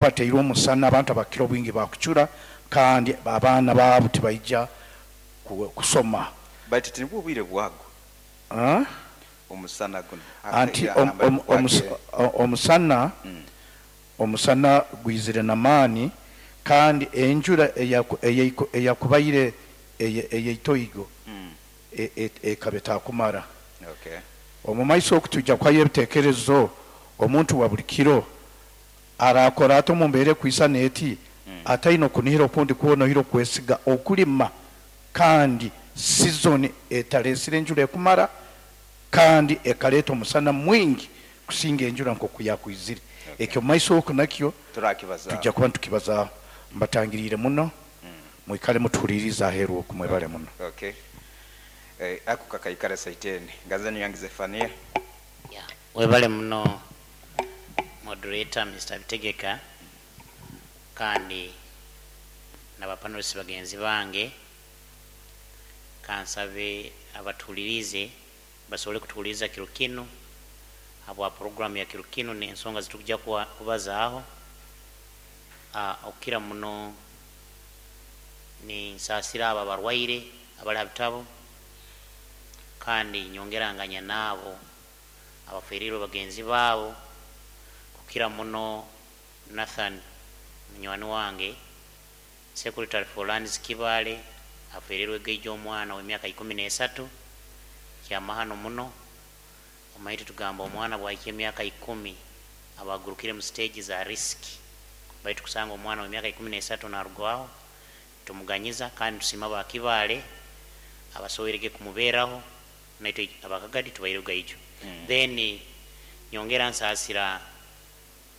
Bateirwe omusana, abantu abakira obwingi bakucura, kandi abaana baabo tibaija kusoma. Baitu tinibwo obwire bwagwo. Ah? Omusana guno. Anti omusana omusana gwizire n'amaani, kandi enjura eyakubaire eyeitoigo ekaba etakumara. Omu maiso oku twija kuhayo ebiteekerezo, omuntu wa buli kiro arakora ata omu mbeera ekwisana eti, ataine okunihira okundi kwona oihire okwesiga okulima, kandi season etaleesire enjura ekumara kandi ekaleeta omusana mwingi kusinga enjura nk'oku yakwizire? Ekyo omu maiso oku nakyo Turakibazaaho. Tujja kuba nitukibazaaho. Mbatangiriire muno, mwikale mutuhuliriize aheeru oku. Mwebale muno. Okay. Ako kakaikara saiteni. Ngazani yange Zefania. Yeah. Webale muno, moderator Mr. Bitegeka, kandi n'abapanelist bagenzi bange. Kansabe abatuhulirize basobole kutuhuliriza kiro kinu habwa programu ya kiro kinu n'ensonga zitukujya kubazaaho. Okukira muno ninsaasira abo abarwaire abali ha bitabo, kandi nyongeranganya n'abo abaferirwe bagenzi baabo, kukira muno Nathan, munywani wange, secretary for lands Kibaale, aferirwe geija omwana w'emyaka 13. Kyamahano muno. Omaitu tugamba omwana bwahikya emyaka 10 abagurukire mu stage za risk, baitu kusanga omwana w'emyaka 13 narugwaho, tumuganyiza kandi tusima ba Kibaale abasoboirege kumuberaho, naitwe abakagadi tubaire gaijo. Then nyongera nsaasira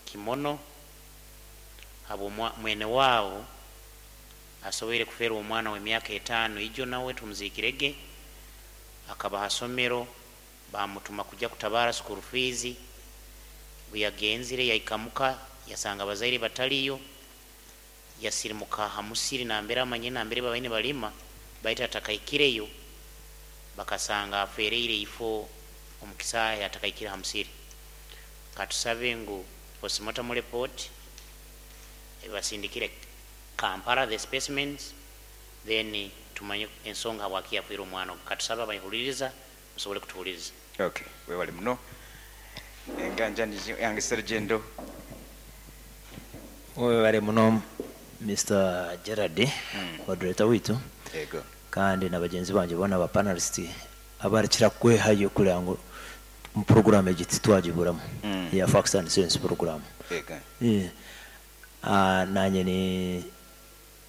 Kimono habwo mwene waabo asoboire kuferwa omwana w'emyaka 5 ijo, nawe tumuzikirege. Akaba ha somero, bamutuma kujya kutabara school fees. Buyagenzire yahikamuka yasanga abazaire bataliyo, yasirimuka ha musiri nambere amanye nambere babaine balima, baitu atakahikireyo bakasanga afereire ifo omu kisaahe atakahikire ha musiri. Katusabe ngu postmortem report ebasindikire Kampala, the specimens, then tumanye ensonga habwaki yafiire omwana ogu. Katusabe abayihuliriza musobole kutuhuliriza. Okay, webale muno. Enganjani yange Serugendo. Webale muno, Mr. Gerard, moderator witu. Ego. Kandi na bagenzi banje bona aba panelist abarikira kwehayo kugira ngu mu program egi titwagiburamu, ya Facts and Sense program. Ego. Nanye ni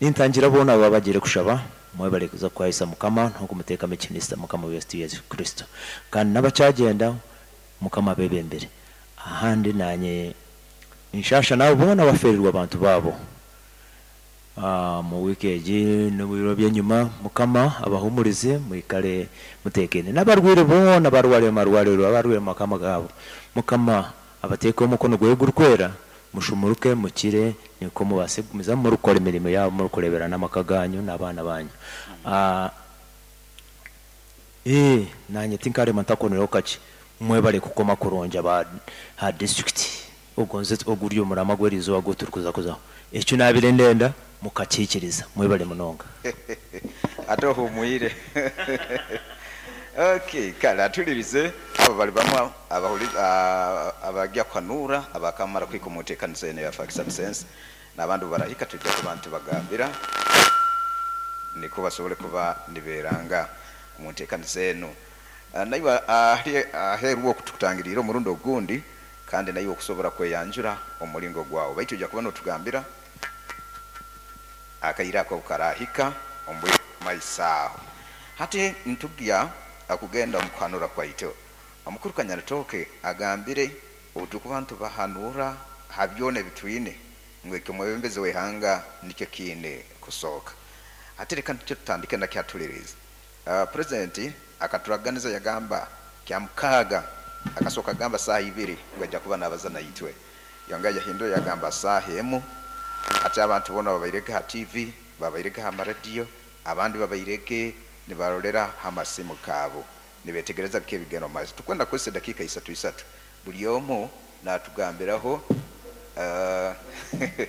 nintangira bona baba bagire kushaba, mwebale kuza kwahisa Mukama n'okumuteekamu ekitinisa Mukama waitu Yesu Kristo, kandi n'abakyagenda Mukama abebembere. Ahandi nanye nshasha nabo bona baferirwe abantu baabo mu wiiki egi n'ebiro by'enyuma. Mukama abahumurize, mwikale mutekene. N'abarwaire boona barware mu marwariro, abarwaire mu makama gaabo, Mukama abateekeho omukono gwe gurikwera, mushumuruke mukire, niko mubase kugumizamu murikukora emirimo yabo, murikurebera n'amaka ganyu n'abaana banyu. Nanye tinkarema ntakonereho kakye. Mwebale kukoma kurungi aba ha district ogonze oguri omurama gw'eriizooba gu turikuza kuzaho. Ekyo nabire ndenda mukakikiriza. Mwebale munonga. Ate ohumwire. Okay, kale atulirize abo bali bamwe abajya kuhanura abakamara kwika omu nteekaniza eno ya Facts and Sense, n'abandi barahika tujja kuba ntibagambira niko basobole kuba niberanga omu nteekaniza eno. Naiwe aheeru okutukutangiriire omurundi ogundi, kandi naiwe okusobora kweyanjura omu mulingo gwawe, baitu ojja kuba notugambira akaire ako obukarahika omu bwire maiso aho. Hati ntugya akugenda omu kuhanura kwaitu. Omukuru Kanyarutooke agambire obutukuba ntubahanura ha byona ebitwine ngu ekyo omwebembezi w'ihanga nikyo kiine kusooka. Hati reka nikyo tutandike nakyo atulirize. Purezidenti akaturaganiza yagamba 6:00, akasooka agamba saaha 2 ngu ajja kuba nabaza naitwe, yongera yahindura yagamba saaha 1. Ati abantu boona babairege ha TV, babairege ha maradiyo, abandi babairege nibarolera ha masimu gaabo nibetegereza biki ebigenda omu maiso. Tukwenda kukozesa edakiika isatu isatu, buli omu natugambiraho.